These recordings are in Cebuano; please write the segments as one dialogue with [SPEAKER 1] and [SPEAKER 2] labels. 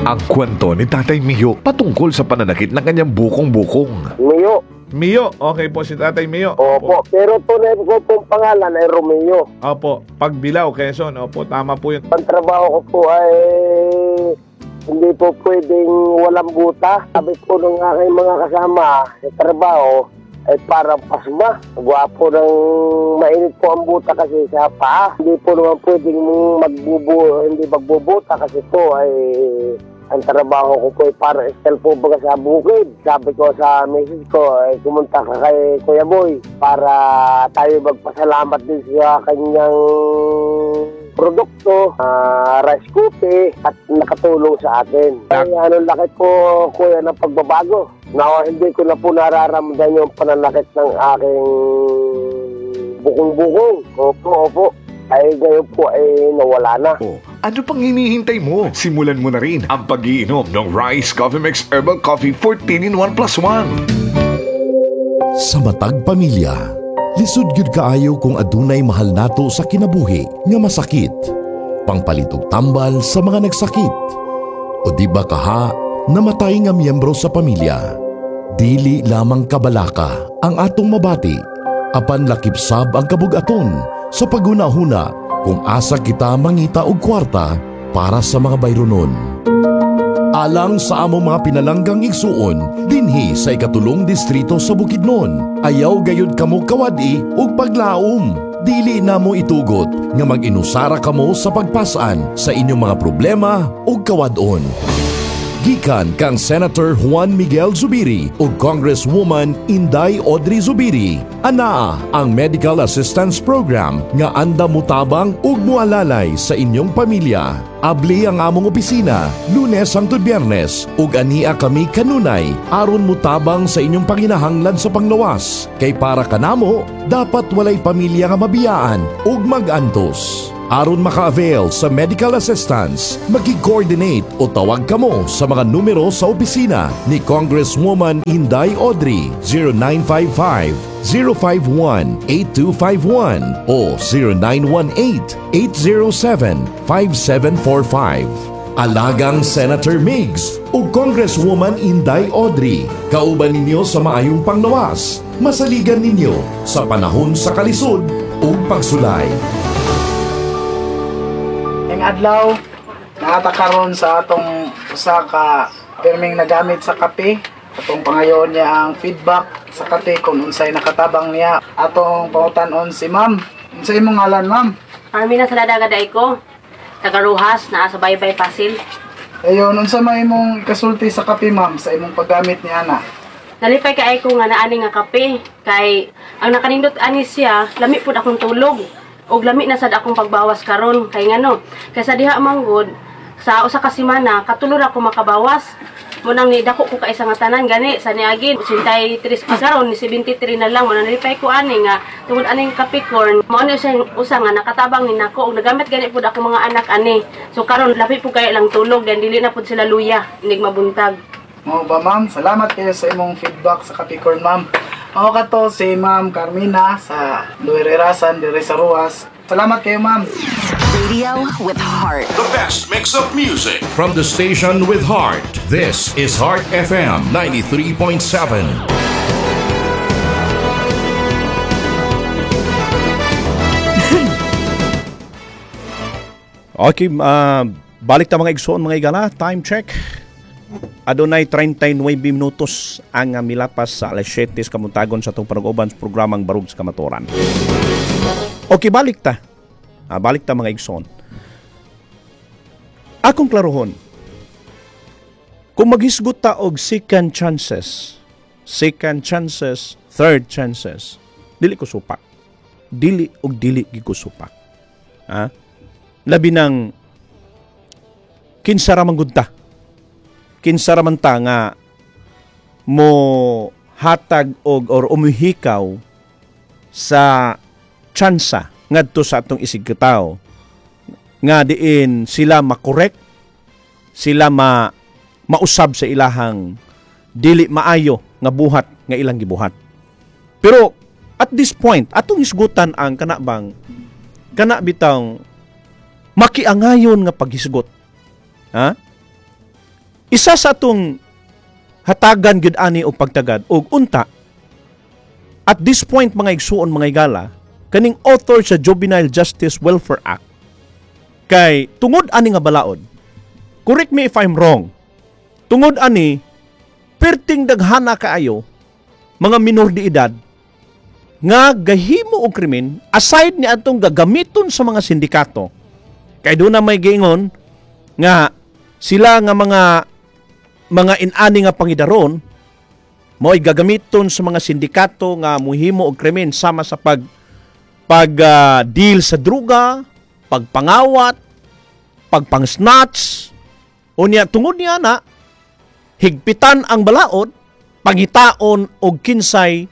[SPEAKER 1] Ang kwento ni Tatay Mio patungkol sa pananakit ng kanyang bukong-bukong.
[SPEAKER 2] Mio.
[SPEAKER 3] Mio. Okay po si Tatay Mio.
[SPEAKER 2] Opo. Pero tunay ko pong pangalan ay Romeo.
[SPEAKER 3] Opo. Pagbilao, Quezon. Opo, tama po yun.
[SPEAKER 2] Ang trabaho ko po ay hindi po pwedeng walang buta. Sabi po ng aking mga kasama sa trabaho ay parang pasma. Gwapo ng mainit po ang buta kasi sa paa. Hindi po naman pwedeng hindi magbubuta kasi po ay ang trabaho ko po ay parang style po baga sa bukid. Sabi ko sa misis ko ay kumunta ka kay Kuya Boy para tayo magpasalamat din sa kanyang produkto, rice cookie at nakatulong sa atin. Ay, anong laki po, kuya, ng pagbabago. Na hindi ko na po nararamdaman yung pananakit ng aking bukong-bukong. Opo, opo. Ay ngayon po ay nawala na.
[SPEAKER 1] Oh, ano pang hinihintay mo? Simulan mo na rin ang pagiinom ng Rice Coffee Mix Herbal Coffee 14 in 1 plus 1.
[SPEAKER 4] Sa matag pamilya, lisod gyud kaayo kung adunay mahal nato sa kinabuhi nga masakit. Pangpalit og tambal sa mga nagsakit. O di ba kaha namatay nga miyembro sa pamilya. Dili lamang kabalaka ang atong mabati, apan lakip sab ang kabugaton sa paghunahuna kung asa kita mangita og kwarta para sa mga bayronon. Alang sa among mga pinalanggang igsuon, dinhi sa ikatulong distrito sa Bukidnon, ayaw gayud kamo kawadi ug paglaom. Dili na mo itugot nga mag-inusara kamo sa pagpasan sa inyong mga problema ug kawadon. Gikan kang Senator Juan Miguel Zubiri ug Congresswoman Inday Audrey Zubiri. Anaa ang Medical Assistance Program nga anda mutabang ug mualalay sa inyong pamilya. Abli ang among opisina Lunes hangtod Biyernes ug ania kami kanunay aron mutabang sa inyong panginahanglan sa panglawas. Kay para kanamo dapat walay pamilya nga mabiyaan ug magantos. Aron maka-avail sa medical assistance, maki-coordinate o tawag kamo sa mga numero sa opisina ni Congresswoman Inday Audrey 0955-051-8251 o 0918-807-5745. Alagang Senator Migs o Congresswoman Inday Audrey, kauban ninyo sa maayong panglawas, masaligan ninyo sa panahon sa kalisod ug pagsulay.
[SPEAKER 5] Ang adlaw, naata karon sa atong usa ka pirming nagamit sa kape. Atong pangayoon niya ang feedback sa kape kung unsay nakatabang niya. Atong pangutan-on si ma'am. Unsay imong ngalan, ma'am?
[SPEAKER 6] Carmina Salada Gaday ko. Taga Rojas, naa sa Baybay Pasil.
[SPEAKER 5] Ayon, unsa may imong kasulti sa kape, ma'am, sa imong paggamit ni ana?
[SPEAKER 6] Nalipay kay ko nga naani nga kape kay ang nakanindot ani siya, lami pud akong tulog. Og lami na sad akong pagbawas karon kay ngano. Kay sa diha manggod sa usa ka semana katulo ra ko makabawas. Mo nang nidako ko kaisa nga tanan gani sa niagin 83 pa karon ni 73 na lang mo nalipay ko ani nga tungod aning Capricorn mao ni siya usa nga nakatabang ni nako og nagamit gani pud ako mga anak ani. So karon lapi pud kay lang tulog dan dili na pud sila luya inig mabuntag.
[SPEAKER 5] Mao ba, ma'am? Salamat kayo sa imong feedback sa Capricorn, ma'am. Mao kato si Ma'am Carmina sa Luirerasan, dire sa Ruas. Salamat kayo, ma'am.
[SPEAKER 7] Radio with heart.
[SPEAKER 8] The best mix of music.
[SPEAKER 4] From the station with heart, this is Heart FM 93.7.
[SPEAKER 9] Okay, balik ta mga igsoon mga igala, time check. Adunay 39 minutos ang milapas sa alas 7 sa kamuntagon sa atong panag-uban sa programang Barug sa Kamatuoran. Okay, balik ta. Balik ta mga igsoon. Akong klarohon, kung maghisgot ta og second chances, third chances, dili ko supak. Dili og dili gid ko supak. Ha? Labi ng kinsa ra man gud ta. Kinsa ra man ta nga mo hatag og or umihikaw sa tsansa ngadto sa atong isigkatawo nga diin sila makorek, sila mausab sa ilahang dili maayo nga buhat nga ilang gibuhat. Pero at this point, atong hisgutan ang kana bang kana bitang makiangayon nga paghisgot. Ha? Isa sa atong hatagan gyud ani og pagtagad og unta at this point, mga igsuon, mga igala, kaning author sa Juvenile Justice Welfare Act, kay tungod ani nga balaod, correct me if I'm wrong, tungod ani perting daghana kaayo mga minor de edad nga gahimo og krimen, aside ni atong gagamiton sa mga sindikato, kay doon na may giingon nga sila nga mga inani nga pangidaron mo'y gagamiton sa mga sindikato nga muhimo og krimen sama sa pag pag deal sa druga, pagpangawat, pagpang-snatch. Unya tungod niya na higpitan ang balaod, pangitaon og kinsay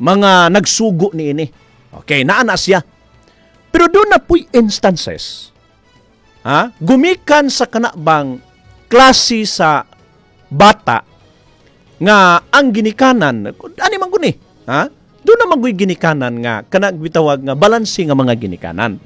[SPEAKER 9] mga nagsugo niini. Okay, naa na siya. Pero doon na pu'y instances. Ha? Gumikan sa kanabang klase sa bata nga ang ginikanan, ani man guni, ha? Doon naman guy ginikanan nga kana bitawag nga balanse nga mga ginikanan.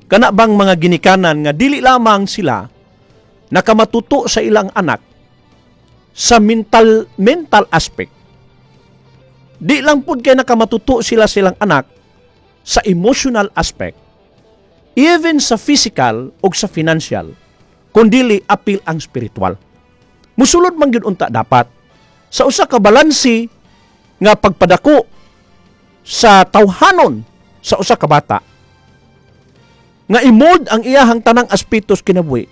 [SPEAKER 9] Kana bang mga ginikanan nga dili lamang sila nakamatuto sa ilang anak sa mental mental aspect. Di lang pud kay nakamatuto sila silang anak sa emotional aspect, even sa physical o sa financial, kundili apil ang spiritual. Musulod man gyud unta dapat sa usa ka balanse nga pagpadako sa tawhanon sa usa ka bata nga i-mold ang iyahang tanang aspetos kinabuhi,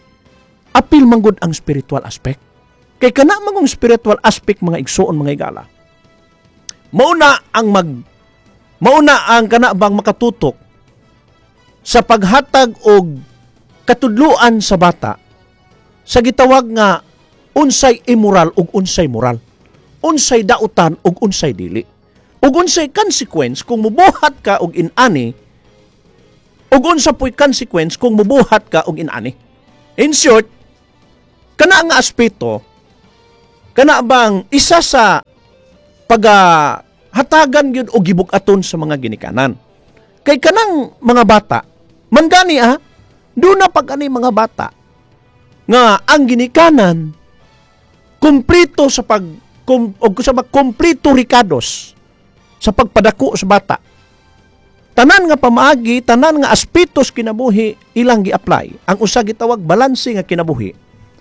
[SPEAKER 9] apil man gud ang spiritual aspect. Kay kana mangong spiritual aspect, mga igsuon, mga igala, mauna ang kana bang makatutok sa paghatag og katudluan sa bata sa gitawag nga unsay immoral ug unsay moral, unsay dautan ug unsay dili, ug unsay consequence kung mubuhat ka og inani, ug unsa po'y consequence kung mubuhat ka og inani. In short, kana nga aspeto, kana bang isa sa pagahatagan gyud og gibug-aton sa mga ginikanan. Kay kanang mga bata, man gani doon na pag ani mga bata nga ang ginikanan kumplito sa pag og sa pag kumplito rikados sa pagpadako sa bata. Tanan nga pamaagi, tanan nga aspetos kinabuhi ilang gi-apply. Ang usa gitawag balanse nga kinabuhi.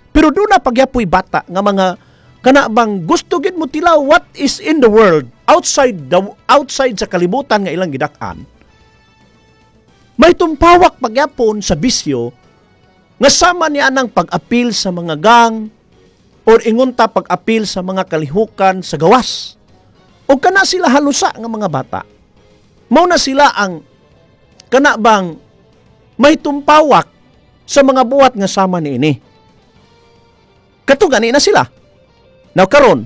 [SPEAKER 9] Pero doon na pagyapoy bata nga mga kana bang gusto gid mo tilaw what is in the world outside sa kalibutan nga ilang gidak-an. May tumpawak pagyapon sa bisyo nga sama niya nang pag-apil sa mga gang or ingunta pag-apil sa mga kalihukan sa gawas. O kana sila halusa nga mga bata. Mao na sila ang kana bang may tumpawak sa mga buhat nga sama niini. Kato gani na sila. Now karon,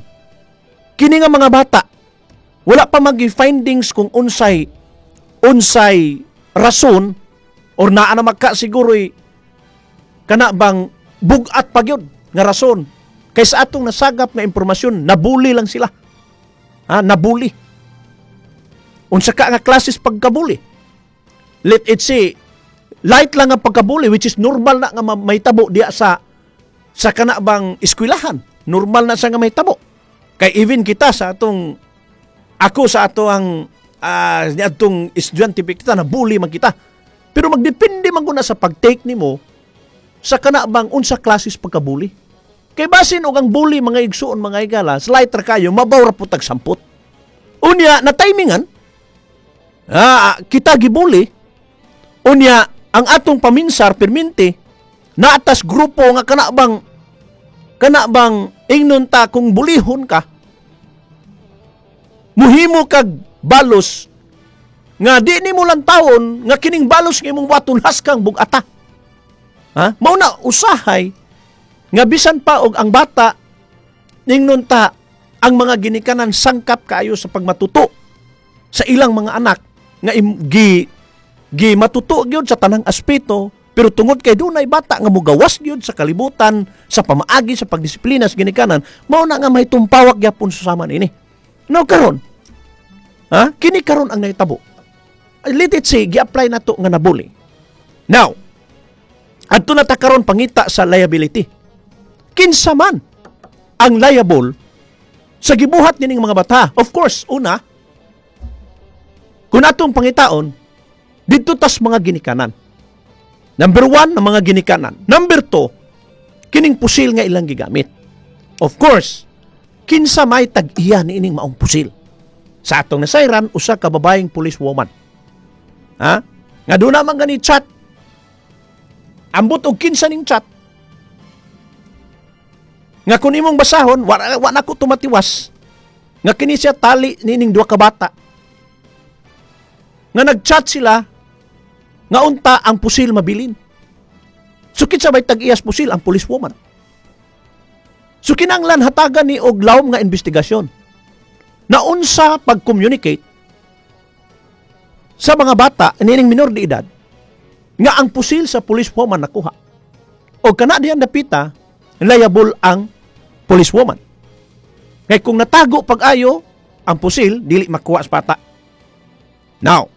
[SPEAKER 9] kini nga mga bata wala pa magi findings kung unsay unsay rason or naa na magka siguro'y kana bang bugat pa gyud nga rason. Kay sa atong nasagap nga impormasyon, nabuli lang sila. Ha, nabuli. Unsa ka nga klases pagkabuli? Let it say, light lang ang pagkabuli, which is normal na nga mahitabo diya sa kana bang eskwelahan. Normal na siya nga mahitabo. Kay even kita sa atong ako sa ato ang atong estudyante kita, nabuli man kita. Pero magdepende man guna sa pag-take nimo sa kana bang unsa klases pagkabuli. Kay basin og ang bully, mga igsuon, mga igala, slight ra kayo, mabaw ra pud tag sampot. Unya na timingan kita gibuli. Unya ang atong paminsar perminti naatas grupo nga kana bang ingnon ta kung bulihon ka, muhimo kag balos nga di nimo lang tawon nga kining balos nga imong waton haskang bugata. Ha? Mao na usahay nga bisan pa og ang bata, ningnon ta ang mga ginikanan sangkap kaayo sa pagmatuto sa ilang mga anak nga gi gi matuto gyud sa tanang aspeto, pero tungod kay dunay bata nga mugawas gyud sa kalibutan sa pamaagi sa pagdisiplina sa ginikanan, mao na nga may tumpawak gyapon sa sama niini. Now karon, ha, kini karon ang nahitabo, let it say gi-apply nato nga nabuli. Now adto na ta karon pangita sa liability. Kinsa man ang liable sa gibuhat nining mga bata? Of course, una, kung atong pangitaon, didto tas mga ginikanan. Number one, ang mga ginikanan. Number two, kining pusil nga ilang gigamit. Of course, kinsa may tag-iya niining maong pusil? Sa atong nasayran, usa ka babaeng police woman. Ha? Nga doon naman gani chat. Ambot og kinsa ning chat. Nga kung imong basahon, wa na ko tumatiwas. Nga kini siya tali nining duha ka bata. Nga nag-chat sila nga unta ang pusil mabilin. So kinsa may tag-iyas pusil? Ang police woman. So kinanglan hatagan ni og lawom nga investigasyon. Na unsa pag-communicate sa mga bata nining minor de edad nga ang pusil sa police woman nakuha. O kana diyan dapita, liable ang police woman. Kay kung natago pag-ayo ang pusil, dili makuha sa bata. Now,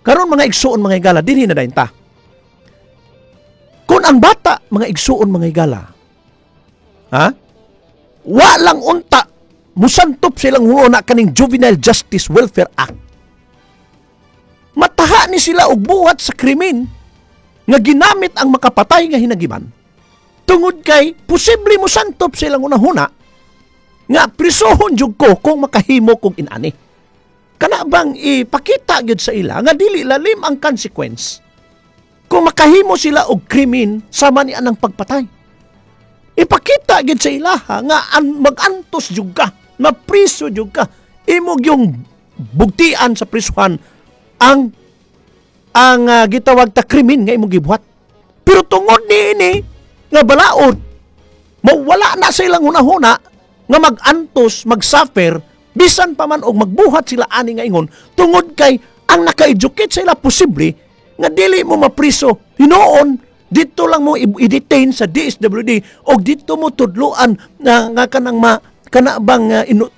[SPEAKER 9] karon, mga igsuon, mga higala, dinhi na dayon ta. Kung ang bata, mga igsuon, mga higala, ha? Wa lang unta musantop silang huuna kaning Juvenile Justice Welfare Act. Mataha ni sila og buhat sa krimen nga ginamit ang makapatay nga hinagiban. Tungod kay posible mo santop silang unahuna nga prisohon jud ko kung makahimo kog inani. Kana bang ipakita gyud sa ila nga dili lalim ang consequence kung makahimo sila og krimen sama ni anang pagpatay. Ipakita gyud sa ilaha nga magantos jud ka, mapriso jud ka. Imo yung bugtian sa prisuhan ang gitawag ta krimen nga imong gibuhat. Pero tungod niini nga balaod, mawala na sa ilang hunahuna nga mag-antos, mag-suffer, bisan pa man og magbuhat sila ani nga ingon, tungod kay ang naka-educate sa ila posible nga dili mo mapriso. Hinuon, dito lang mo i-detain sa DSWD o dito mo tudluan na nga kanang ma kana bang